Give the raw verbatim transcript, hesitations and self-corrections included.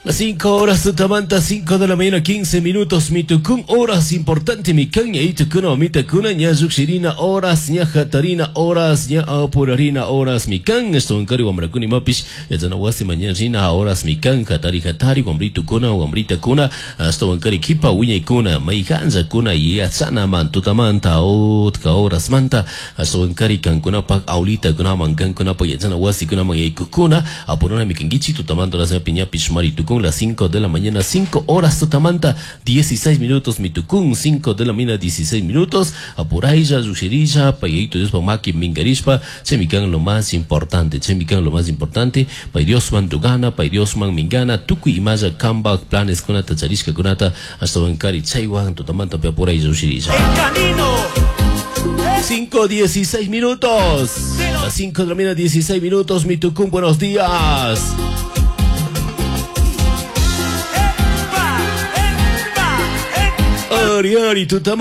Las cinco horas tutamanta, cinco de la mañana, quince minutos, mitucún, horas importante, mi caña y tucuna, mitacuna, ña yuxirina, horas, ña jatarina, horas, ña apurarina, horas, mi can, esto en cari, wambracuni, mapish, yachana wasi, mañana, rina, horas, mi can, jatari, jatari, wambrito cuna, wambrita cuna, esto en cari, kipa, wiña cuna, maijanja cuna, yachana, man, tutamanta, otka, horas, manta, esto en cari, cancuna, pak, aulita, cuna, man, cancuna, pa, yachana wasi, cuna, man, yaykukuna, apuruna, mi canguichi, tutamanta, las piña, pishmari, tucún, las cinco de la mañana, cinco horas tutamanta, dieciséis minutos, mitucún, cinco de la mañana, dieciséis minutos, apuraylla, yushirilla, payito Dios maki mingarishpa, chemican lo más importante, chemican lo más importante, pay Dios man tugana, pay Dios man mingana, tukuy imaya kamba planes kunata, charishka kunata, hasta bancari chaywan, tutamanta, pe apuraylla, yushirilla. El camino. cinco, dieciséis minutos. Las cinco de la mañana, dieciséis minutos, mitucún, buenos días. Epa, epa, epa. Ari, ari, tutamanta.